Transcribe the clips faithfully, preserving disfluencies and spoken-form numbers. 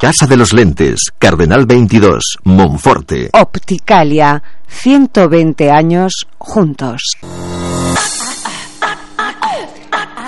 Casa de los Lentes, Cardenal veintidós, Monforte. Opticalia, ciento veinte años juntos.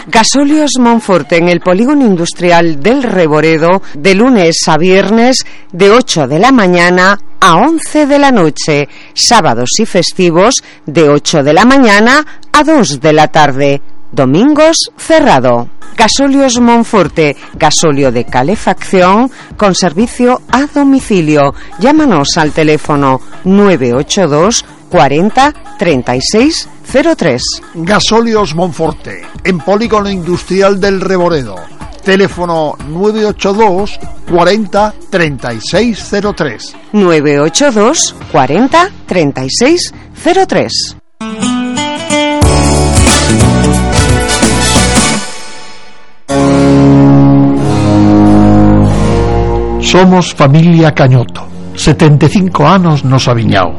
Gasóleos Monforte en el polígono industrial del Reboredo, de lunes a viernes de ocho de la mañana a once de la noche, sábados y festivos de ocho de la mañana a dos de la tarde, domingos cerrado. Gasóleos Monforte, gasóleo de calefacción con servicio a domicilio. Llámanos al teléfono nueve ocho dos cuarenta treinta y seis cero tres. Gasóleos Monforte, en polígono industrial del Reboredo. Teléfono nueve ocho dos cuarenta treinta y seis cero tres. nueve ocho dos cuarenta treinta y seis cero tres. Somos familia Cañoto, setenta e cinco anos nos aviñao.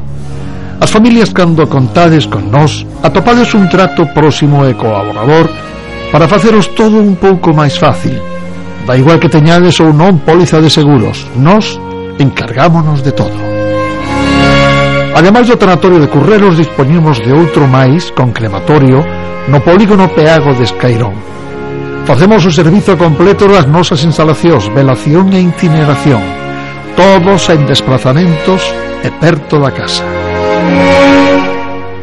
As familias cando contades con nós atopades un trato próximo e colaborador para faceros todo un pouco máis fácil. Da igual que teñades ou non póliza de seguros, nós encargámonos de todo. Ademais do tanatorio de Curreros, dispoñemos de outro máis con crematorio no polígono Peago de Escairón. Facemos o servizo completo das nosas instalacións, velación e incineración, todos en desplazamentos e perto da casa.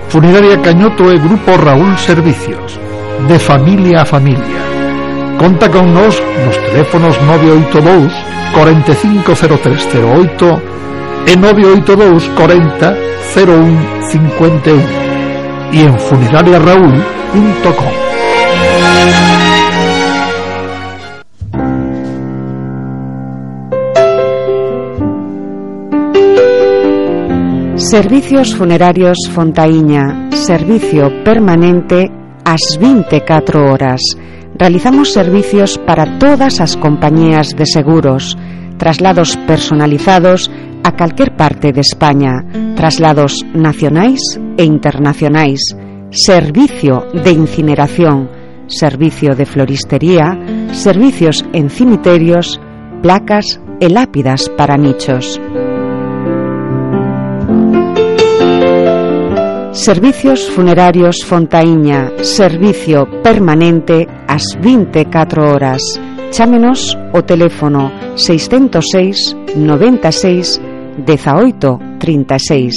Funeraria Cañoto e Grupo Raúl Servicios, de familia a familia. Conta con nos nos teléfonos nove oito dous cuarenta e cinco cero tres cero oito e nove oito dous cuarenta cero un cincuenta e un e en funeraria raúl punto com. Servicios Funerarios Fontaíña, servicio permanente ás vinte e catro horas. Realizamos servicios para todas as compañías de seguros, traslados personalizados a calquer parte de España, traslados nacionais e internacionais, servicio de incineración, servicio de floristería, servicios en cimiterios, placas e lápidas para nichos. Servicios Funerarios Fontaíña, servicio permanente ás vinte e catro horas. Chámenos o teléfono seiscentos seis noventa e seis dezaoito trinta e seis,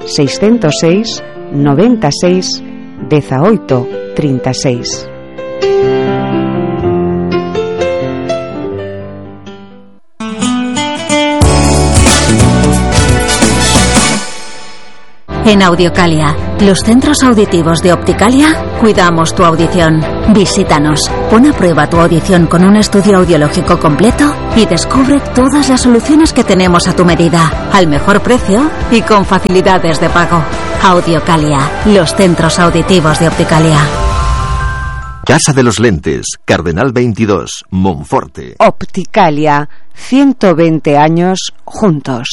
seiscentos seis noventa e seis dezaoito trinta e seis. En Audiocalia, los centros auditivos de Opticalia, cuidamos tu audición. Visítanos, pon a prueba tu audición con un estudio audiológico completo y descubre todas las soluciones que tenemos a tu medida, al mejor precio y con facilidades de pago. Audiocalia, los centros auditivos de Opticalia. Casa de los Lentes, Cardenal veintidós, Monforte. Opticalia, ciento veinte años juntos.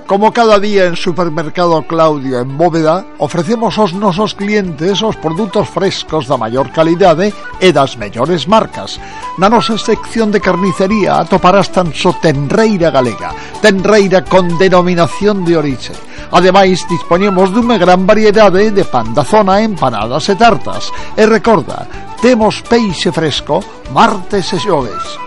Como cada día en Supermercado Claudio en Bóveda, ofrecemos aos nosos clientes os produtos frescos da maior calidade e das mellores marcas. Na nosa sección de carnicería atoparás tan só tenreira galega, tenreira con denominación de orixe. Ademais, dispoñemos dunha gran variedade de pan da zona, empanadas e tartas. E recorda, temos peixe fresco martes e xoves.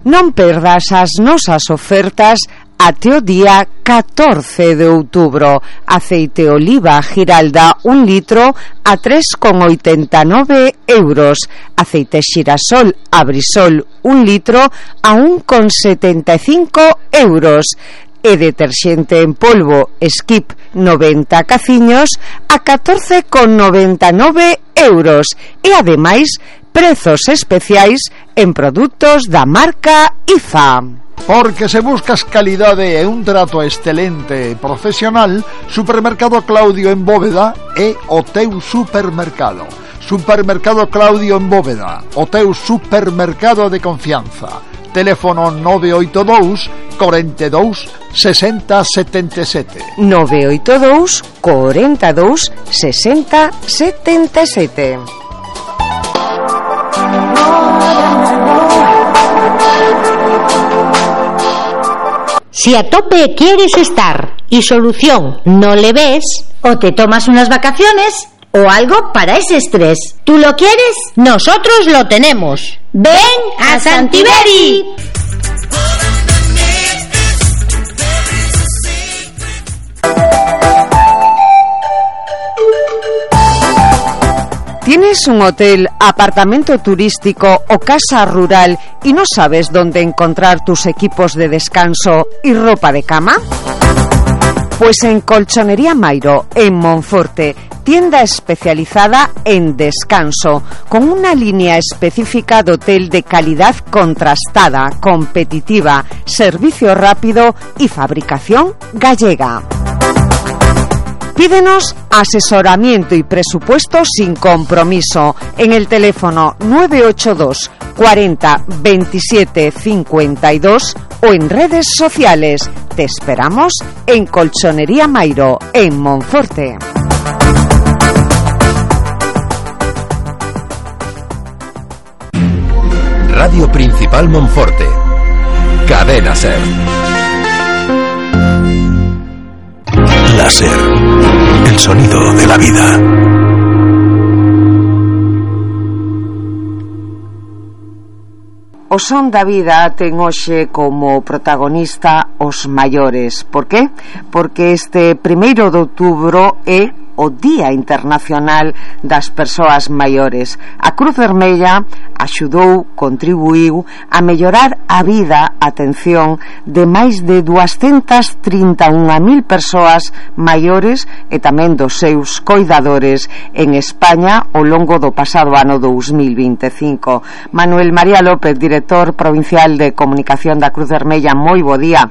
Non perdas as nosas ofertas até o día catorce de outubro. Aceite oliva Giralda un litro a tres con oitenta e nove euros. Aceite xirasol Abrisol un litro a un con setenta e cinco euros. E deterxente en polvo Skip noventa caciños a catorce con noventa e nove euros. E ademais prezos especiais en produtos da marca I F A. Porque se buscas calidade e un trato excelente e profesional, Supermercado Claudio en Bóveda é o teu supermercado. Supermercado Claudio en Bóveda, o teu supermercado de confianza. Teléfono nove oito dous cuarenta e dous sesenta setenta e sete. nove oito dous cuarenta e dous sesenta setenta e sete. Si a tope quieres estar y solución no le ves, o te tomas unas vacaciones o algo para ese estrés. ¿Tú lo quieres? Nosotros lo tenemos. ¡Ven a Santiberi! ¿Tienes un hotel, apartamento turístico o casa rural y no sabes dónde encontrar tus equipos de descanso y ropa de cama? Pues en Colchonería Mairo, en Monforte, tienda especializada en descanso, con una línea específica de hotel de calidad contrastada, competitiva, servicio rápido y fabricación gallega. Pídenos asesoramiento y presupuesto sin compromiso en el teléfono nueve ocho dos cuarenta veintisiete cincuenta y dos o en redes sociales. Te esperamos en Colchonería Mairo, en Monforte. Radio Principal Monforte. Cadena Ser. Láser, el sonido de la vida. O son da vida ten hoxe como protagonista os maiores. Por qué? Porque este primeiro de outubro é o Día Internacional das Persoas Maiores. A Cruz Vermella axudou, contribuiu a mellorar a vida, atención, de máis de duascentas trinta e unha mil persoas maiores e tamén dos seus coidadores en España ao longo do pasado ano dous mil vinte e cinco. Manuel María López, director provincial de Comunicación da Cruz Vermella, moi bo día.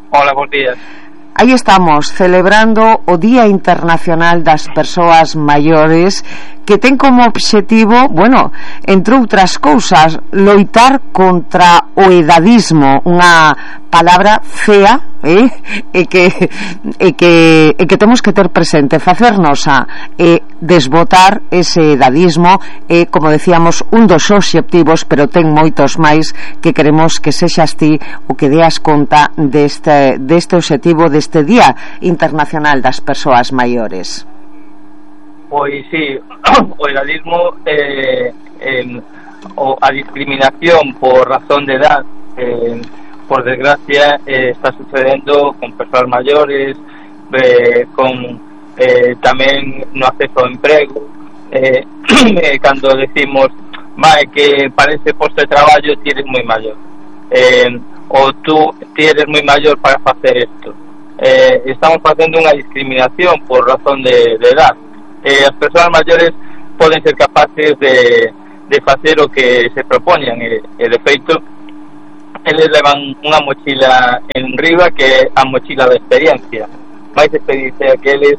Hola, bons días. Aí estamos, celebrando o Día Internacional das Persoas Maiores, que ten como obxectivo, bueno, entre outras cousas, loitar contra o edadismo, unha palabra fea, eh? e que e que e que temos que ter presente, facernos a e desbotar ese edadismo é, como decíamos, un dos obxectivos, pero ten moitos máis que queremos que sexas ti o que deas conta deste deste obxectivo deste Día Internacional das Persoas Maiores. Pois sí, o edadismo eh, eh, o a discriminación por razón de edad, eh, por desgracia eh, está sucedendo con persoas maiores, eh, con eh, tamén no acceso ao emprego, eh, eh, cando decimos vai que para ese posto de traballo ti eres moi maior, eh, ou tú ti eres moi maior para facer isto. Eh, estamos facendo unha discriminación por razón de, de edad. Eh, as persoas maiores poden ser capaces de, de facer o que se propoñan e, e de feito eles levan unha mochila en riba que é a mochila da experiencia, máis experiencia que eles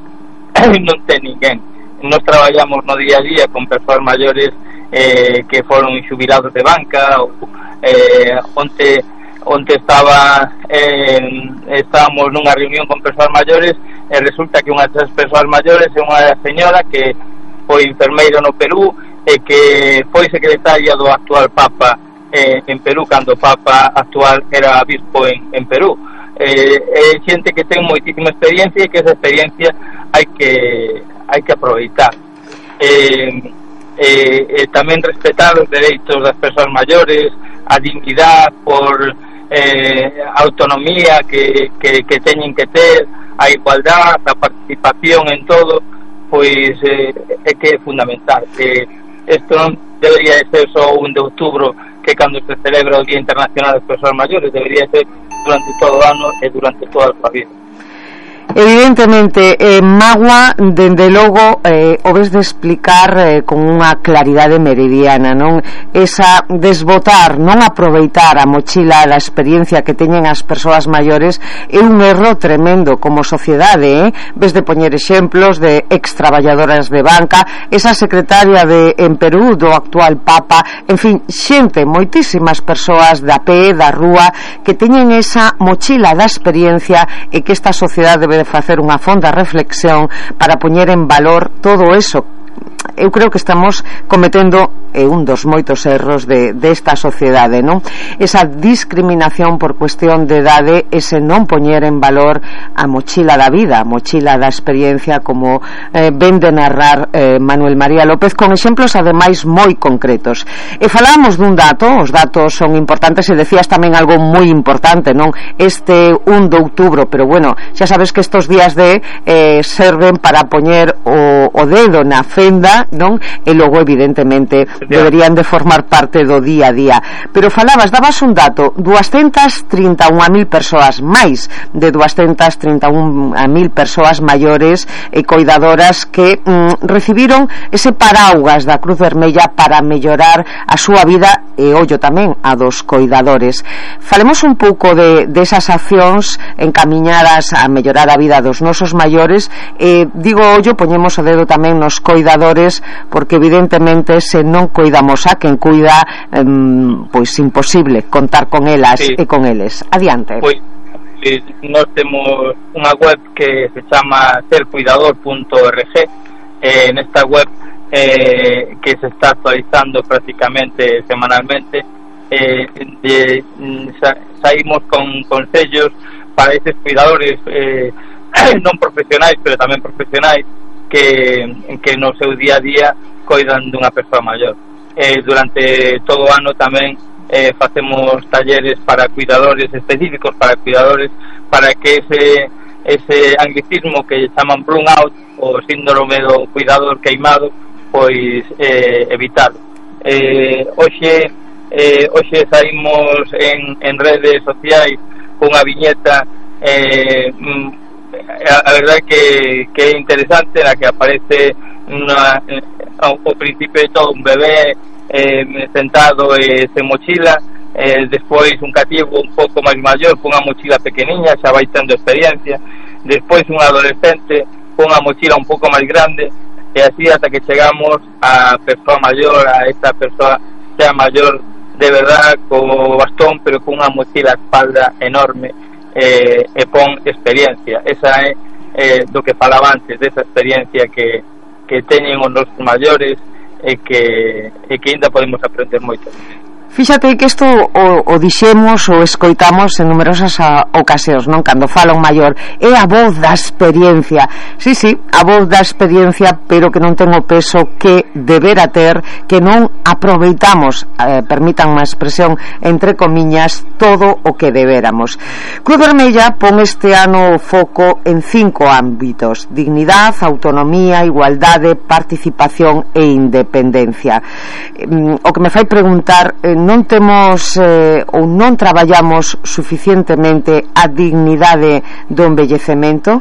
non ten ninguén. Nos traballamos no día a día con persoas maiores eh, que foron xubilados de banca ou eh, onte onde estaba eh, estábamos nunha reunión con persoas maiores e resulta que unha das persoas maiores é unha señora que foi enfermeira no Perú e que foi secretaria do actual Papa eh, en Perú cando o Papa actual era bispo en, en Perú. Eh, é xente que ten moitísima experiencia e que esa experiencia hai que hai que aproveitar. Eh, eh, eh, tamén respetar os dereitos das persoas maiores, a dignidade por Eh, autonomía que, que, que teñen que ter, a igualdade, a participación en todo, pois eh, é que é fundamental. Que isto non debería ser só un de outubro, que cando se celebra o Día Internacional das Persoas Maiores, debería ser durante todo o ano e durante toda a súa vida. Evidentemente, eh, Magua, dende logo, eh, o ves de explicar eh, con unha claridade meridiana, non? Esa desbotar, non aproveitar a mochila da experiencia que teñen as persoas maiores é un erro tremendo como sociedade, eh? Ves de poñer exemplos de extraballadoras de banca, esa secretaria de en Perú do actual Papa, en fin, xente, moitísimas persoas da pé, da rúa, que teñen esa mochila da experiencia e que esta sociedade debe de facer unha fonda reflexión para poñer en valor todo eso eu creo que estamos cometendo eh, un dos moitos erros de, desta sociedade, non? Esa discriminación por cuestión de idade, ese non poñer en valor a mochila da vida, a mochila da experiencia, como eh, ven de narrar eh, Manuel María López, con exemplos ademais moi concretos. E falábamos dun dato, os datos son importantes, e decías tamén algo moi importante, non? Este un de outubro, pero bueno, xa sabes que estos días de eh, serven para poñer o, o dedo na fenda, non? E logo evidentemente deberían de formar parte do día a día. Pero falabas, dabas un dato, doscientas trinta e unha mil persoas, máis de doscientas trinta e unha mil persoas maiores e coidadoras que mm, recibiron ese paraugas da Cruz Vermella para mellorar a súa vida e ollo tamén a dos coidadores. Falemos un pouco de, de esas accións encamiñadas a mellorar a vida dos nosos maiores, e digo ollo, poñemos o dedo tamén nos coidadores, porque evidentemente se non coidamos a quen cuida, eh, pois imposible contar con elas, sí, e con eles. Adiante. Pois eh, nós temos unha web que se chama ser cuidador punto org, eh, nesta web eh, que se está actualizando prácticamente semanalmente, eh, de, sa, saímos con consellos para esos cuidadores eh, non profesionais, pero tamén profesionais que, que no seu día a día coidan dunha persoa maior. Eh, durante todo o ano tamén eh, facemos talleres para cuidadores específicos, para cuidadores, para que ese, ese anglicismo que chaman burnout, o síndrome do cuidador queimado, pois eh, evitar. Eh, hoxe eh, hoxe saímos en, en redes sociais cunha viñeta, eh, a, a verdade que, que é interesante, na que aparece una, ao, ao principio de todo un bebé eh, sentado e eh, sen mochila, eh, despois un cativo un pouco máis maior cunha mochila pequeniña, xa vai tendo experiencia, despois un adolescente cunha mochila un pouco máis grande, e así ata que chegamos a persoa maior, a esta persoa xa maior de verdad, co bastón, pero cunha mochila a espalda enorme, eh, e pon experiencia. Esa é eh, do que falaba antes, desa experiencia que, que teñen os nosos maiores, e que, e que ainda podemos aprender moito. Fíxate que isto o, o dixemos ou escoitamos en numerosas a, ocasións, non? Cando fala un maior, é a voz da experiencia. Sí, sí, a voz da experiencia, pero que non ten o peso que debera ter, que non aproveitamos, eh, permitan má expresión, entre comiñas, todo o que deberamos. Cruz Vermella pon este ano o foco en cinco ámbitos: dignidade, autonomía, igualdade, participación e independencia. Eh, o que me fai preguntar, eh, non temos eh, ou non traballamos suficientemente a dignidade do envellecemento?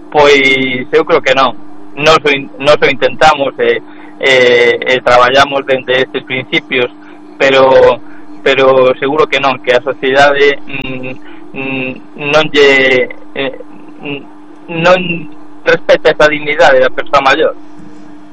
Pois eu creo que non. Nos o, nos o intentamos e eh, eh, traballamos dende estes principios, pero pero seguro que non, que a sociedade mm, mm, non lle eh, non respeta esa dignidade da persoa maior.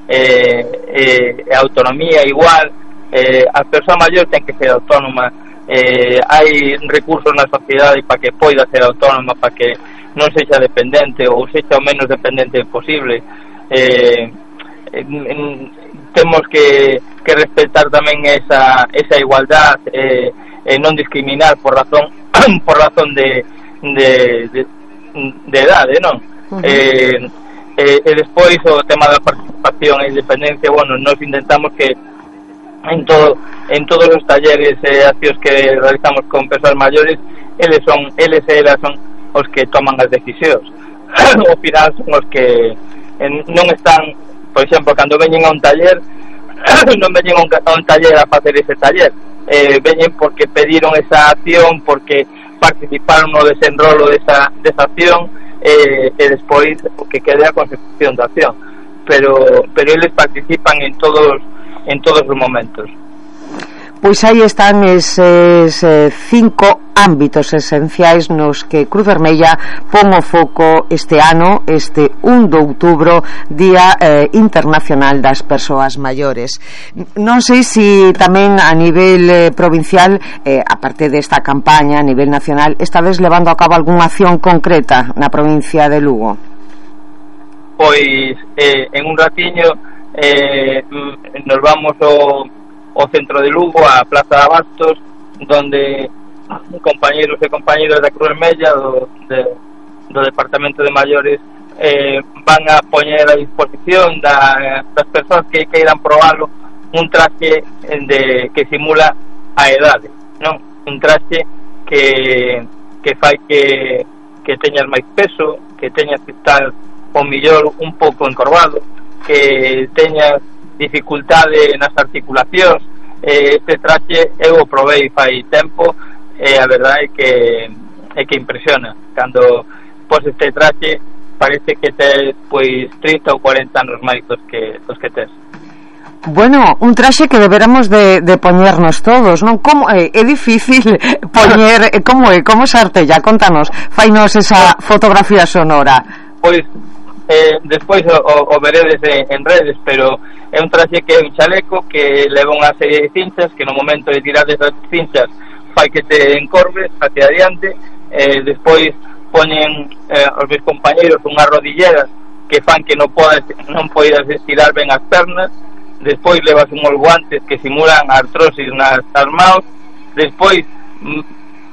Eh, eh, a autonomía igual. Eh, a persoa maior ten que ser autónoma, eh, hai recursos na sociedade para que poida ser autónoma, para que non sexa dependente ou sexa o menos dependente posible. eh, eh, temos que, que respetar tamén esa, esa igualdad, eh, eh, non discriminar por razón por razón de de, de, de edade, non? Uh-huh. eh, eh, e despois o tema da participación e independencia, bueno, nos intentamos que en todo en todos os talleres e eh, accións que realizamos con persoas maiores, eles son eles e elas son os que toman as decisións. Ao final son os que en, non están, por exemplo, cando veñen a un taller non veñen a un, a un taller a facer ese taller, eh, veñen porque pediron esa acción, porque participaron no desenrolo desa, desa acción, eh, e despois o que quede a consecución da acción, pero pero eles participan en todos en todos os momentos. Pois aí están eses eh, cinco ámbitos esenciais nos que Cruz Vermella pon o foco este ano, este un de outubro, Día eh, Internacional das Persoas Maiores. Non sei se tamén a nivel eh, provincial, eh, aparte desta campaña a nivel nacional, estades levando a cabo algunha acción concreta na provincia de Lugo. pois eh, en un ratiño eh, nos vamos ao, ao centro de Lugo, a Plaza de Abastos, donde compañeros e compañeras da Cruz Vermella do, de, do Departamento de Maiores eh, van a poñer a disposición da, das persoas que queiran probalo un traxe de, que simula a edade, non? Un traxe que, que fai que, que teñas máis peso, que teñas que estar o millor un pouco encorvado, que teñas dificultade nas articulacións. Eh, este traxe eu o probei fai tempo e a verdade é que é que impresiona. Cando pos este traxe parece que tes pois trinta ou cuarenta anos máis dos que, dos que tes. Bueno, un traxe que deberamos de, de poñernos todos, non? Como é, é difícil poñer, como é, como se artella? Contanos, fainos esa fotografía sonora. Pois eh, despois o, o, o veredes en, en redes, pero é un traxe que é un chaleco que leva unha serie de cinchas que no momento de tirar desas cinchas fai que te encorves hacia adiante. Eh, despois poñen eh, os meus compañeros unhas rodilleras que fan que non podas, non poidas estirar ben as pernas. Despois levas unhos guantes que simulan artrosis nas manos. Despois mm,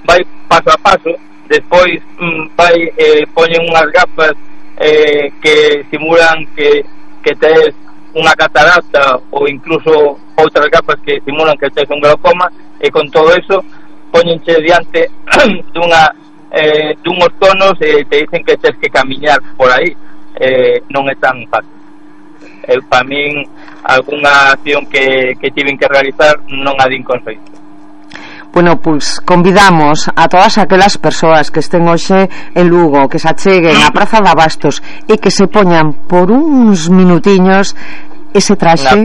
vai paso a paso. Despois mm, vai eh, poñen unhas gafas eh, que simulan que, que tes unha catarata ou incluso outras gafas que simulan que tes un glaucoma, e con todo eso poñenche diante dunha eh, dunhos tonos e te dicen que tes que camiñar por aí. Eh, non é tan fácil. Eh, para min algunha acción que, que tiven que realizar non a din con feito. Bueno, pois convidamos a todas aquelas persoas que estén hoxe en Lugo, que se acheguen á Praza de Abastos e que se poñan por uns minutiños ese traxe,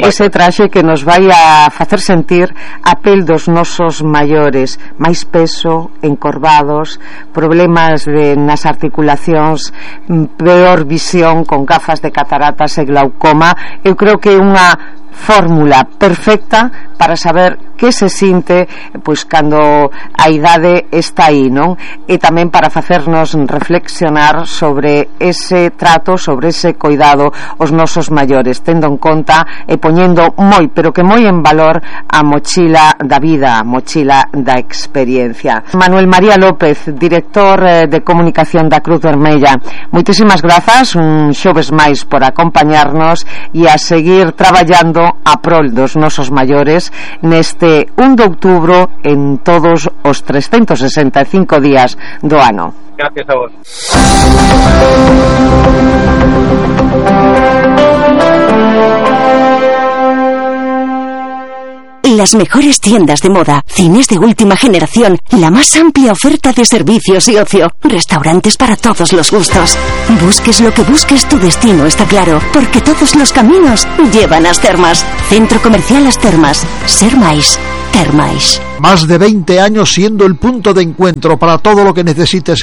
ese traxe que nos vai a facer sentir a pel dos nosos maiores, máis peso, encorvados, problemas de, nas articulacións, peor visión con gafas de cataratas e glaucoma. Eu creo que é unha fórmula perfecta para saber que se sinte pois cando a idade está aí, non? E tamén para facernos reflexionar sobre ese trato, sobre ese cuidado aos nosos maiores, tendo en conta e poñendo moi, pero que moi en valor a mochila da vida, a mochila da experiencia. Manuel María López, director de comunicación da Cruz Vermella, moitísimas grazas un xoves máis por acompañarnos e a seguir traballando a prol dos nosos maiores neste un de outubro en todos os trescentos sesenta e cinco días do ano. Gracias a vos. Las mejores tiendas de moda, cines de última generación, la más amplia oferta de servicios y ocio, restaurantes para todos los gustos. Busques lo que busques, tu destino está claro, porque todos los caminos llevan a As Termas. Centro Comercial As Termas. Ser máis, ter máis. Más de veinte años siendo el punto de encuentro para todo lo que necesites